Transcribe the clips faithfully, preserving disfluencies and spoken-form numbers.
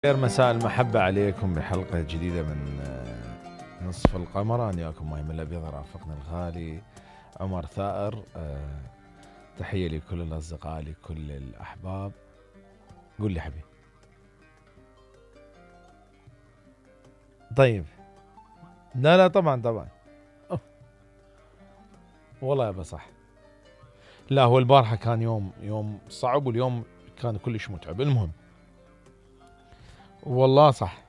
خير مساء المحبة عليكم بحلقة جديدة من نصف القمر. أنا وياكم ماي من الأبيض رافقنا الغالي عمر ثائر. تحية لكل الأصدقاء لكل الأحباب. قول لي حبيبي. طيب لا لا طبعا طبعا أوه. والله يابا صح. لا هو البارحة كان يوم يوم صعب واليوم كان كلش متعب. المهم والله صح.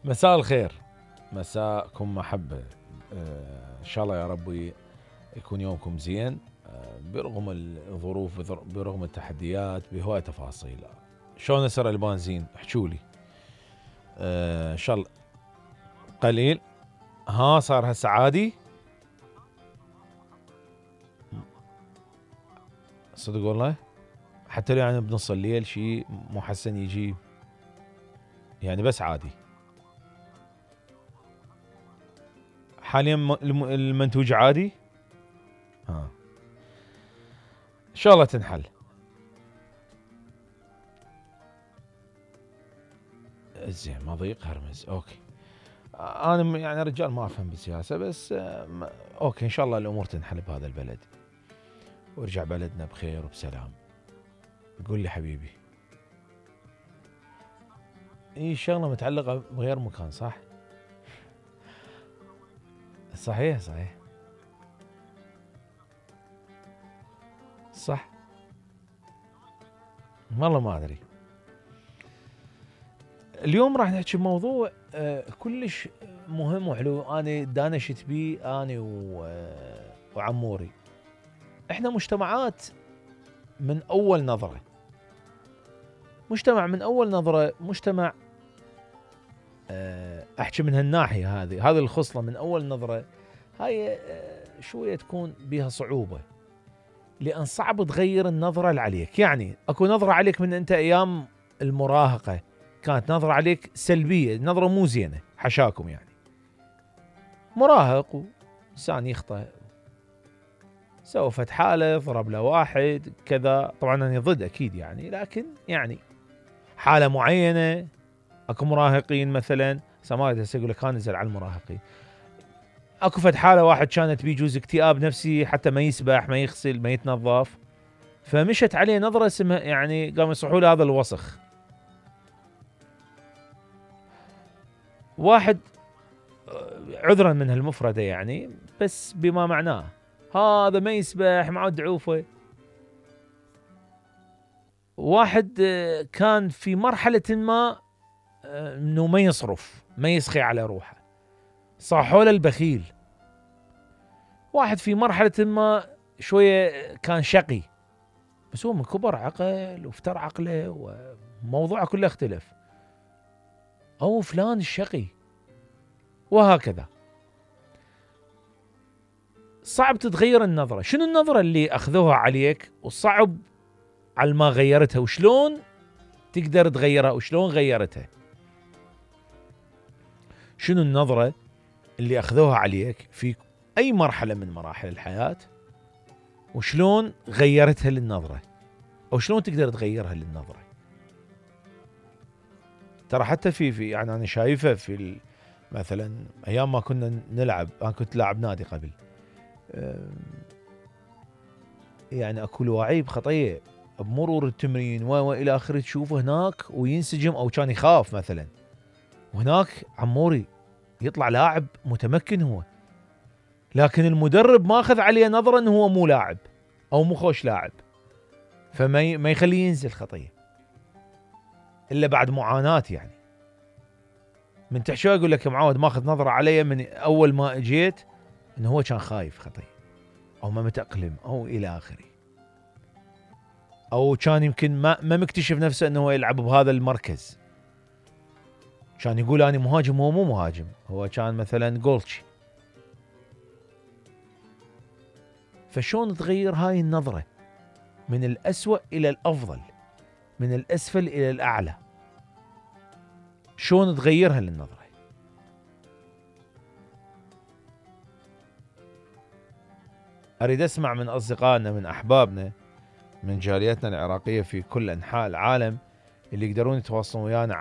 مساء الخير، مساءكم محبة. آه إن شاء الله يا ربي يكون يومكم زين آه برغم الظروف برغم التحديات بهواية تفاصيل. شلون سر البنزين احكولي. آه إن شاء الله قليل. ها صار هسه عادي صدق والله. حتى لو يعني بنص الليل شيء مو حسن يجي يعني بس عادي. حاليا المنتوج عادي. ها ان شاء الله تنحل. زين ما ضيق هرمز. اوكي انا يعني رجال ما افهم بالسياسه بس اوكي ان شاء الله الامور تنحل بهذا البلد ويرجع بلدنا بخير وبسلام. قول لي حبيبي. اي شغله متعلقه بغير مكان صح؟ صحيح صحيح صح. والله ما ادري. اليوم راح نحكي بموضوع آه كلش مهم وحلو. انا دانشت بيه انا آه وعموري. احنا مجتمعات من اول نظره. مجتمع من اول نظره مجتمع آه احكي من هالناحيه هذه هذه الخصله من اول نظره. هاي آه شويه تكون بها صعوبه لان صعب تغير النظره اللي عليك. يعني اكو نظره عليك من انت ايام المراهقه كانت نظره عليك سلبيه، نظره مو زينه حشاكم. يعني مراهق وانسان يخطئ سوى فت حاله ضرب له واحد كذا. طبعا انا ضد اكيد يعني لكن يعني حاله معينه. اكو مراهقين مثلا سماعي هسه يقول لك نزل على المراهقين. اكو فت حاله واحد كانت بيجوز اكتئاب نفسي حتى ما يسبح ما يغسل ما يتنظف فمشت عليه نظره اسمها يعني قاموا يصحوا له هذا الوسخ. واحد عذرا من هالمفردة يعني بس بما معناه هذا ما يسبح معه دعوفه. واحد كان في مرحلة ما انه ما يصرف ما يسخي على روحه صاحوا له البخيل. واحد في مرحلة ما شوية كان شقي بس هو من كبر عقل وافتر عقله وموضوعه كله اختلف. او فلان الشقي وهكذا. صعب تتغير النظرة. شنو النظرة اللي أخذوها عليك وصعب على ما غيرتها وشلون تقدر تغيرها وشلون غيرتها؟ شنو النظرة اللي أخذوها عليك في أي مرحلة من مراحل الحياة وشلون غيرتها للنظرة أو شلون تقدر تغيرها للنظرة؟ ترى حتى في في يعني أنا شايفة في مثلا أيام ما كنا نلعب. أنا كنت لاعب نادي قبل يعني اكو لعيب خطيه بمرور التمرين والى اخره تشوفه هناك وينسجم او كان يخاف مثلا وهناك عموري يطلع لاعب متمكن هو لكن المدرب ماخذ عليه نظره انه هو مو لاعب او مو خوش لاعب فما ما يخليه ينزل خطيه الا بعد معاناه. يعني من تحشو يقول لك معود ماخذ نظره علي من اول ما اجيت انه هو كان خايف خطيه او ما متأقلم او الى اخره او كان يمكن ما ما مكتشف نفسه انه هو يلعب بهذا المركز. كان يقول انا مهاجم هو مو مهاجم هو كان مثلا جولتشي. فشون تغير هاي النظرة من الأسوأ الى الافضل من الاسفل الى الاعلى؟ شون تغيرها للنظرة؟ اريد اسمع من اصدقائنا من احبابنا من جاليتنا العراقية في كل انحاء العالم اللي يقدرون يتواصلون ويانا